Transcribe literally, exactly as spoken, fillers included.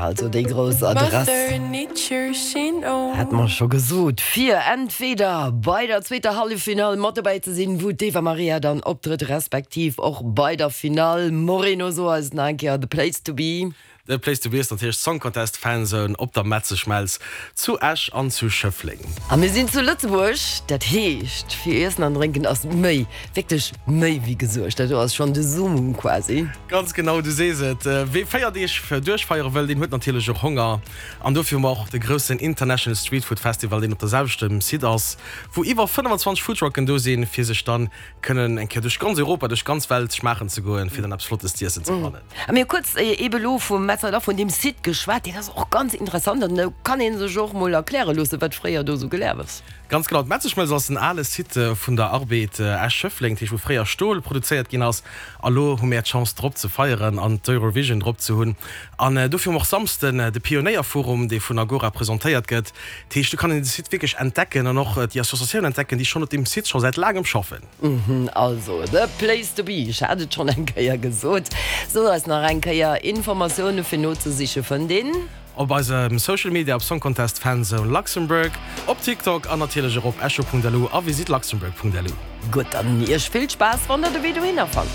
Also déi grouss Adress. Hat mer scho gesot, fir entweder bei der zweeter Halleffinall mat dobäi ze sinn, wou d'Eva Maria dann optrëtt, respektiv och bei der Finall. Moreno, so eis nach eng Kéier the place to be. The place to be ass natierlech Song Contest Fanzone op der Metzeschmelz zu Esch an zu Schëffleng. A mir sinn zu Lëtzebuerg, dat heescht fir Iessen an Drénken ass méi, wierklech méi wéi gesuergt. Dat do ass schonn de Summum quasi. Ganz genau, du sees et. Wee véier Deeg duerchfeiere wëll, deen huet natierlech och Honger. An dofir hu mer och de groussen International Street Food Festival, deen op der selwechten Site ass, wou iwwer fënnfanzwanzeg Foodtrucken do sinn, fir sech dann kënnen eng Kéier duerch ganz Europa, duerch ganz Welt schmaachen ze goen, fir dann eppes Flottes z'iessen ze fannen. A mir hu kuerz ebe lo vum Metzeler, vun deem Site geschwat, deen ass och ganz interessant an do kann ee sech och mol erkläre loossen, wat fréier do sou gelaf ass. Ganz genau, d'Metzeschmelz ass en ale Site vun der Arbed Esch-Schëffleng, dat heescht wou fréier Stol produzéiert ginn ass. A lo hu mir d'Chance drop ze feieren an d'Eurovision drop ze hunn. An dofir hu mer och Samsden de Pionéierforum, dee vun Agora presentéiert gëtt. Dat heescht, do kann een de Site wierklech entdecken an och déi Associatioun entdecken, déi schonn op deem Site scho säit laangem schaffen. Also, the place to be, ech hat et schonn eng Kéier gesot. So eis nach eng Kéier, Informatioune fir nozesiche fënnt een. Op eisem Social Media op Song Contest Fanzone Luxembourg, op TikTok an natierlech och op echo Punkt lu a visitluxembourg Punkt lu. Gutt, dann iech vill Spaass wann der de Wee dohinner fannt.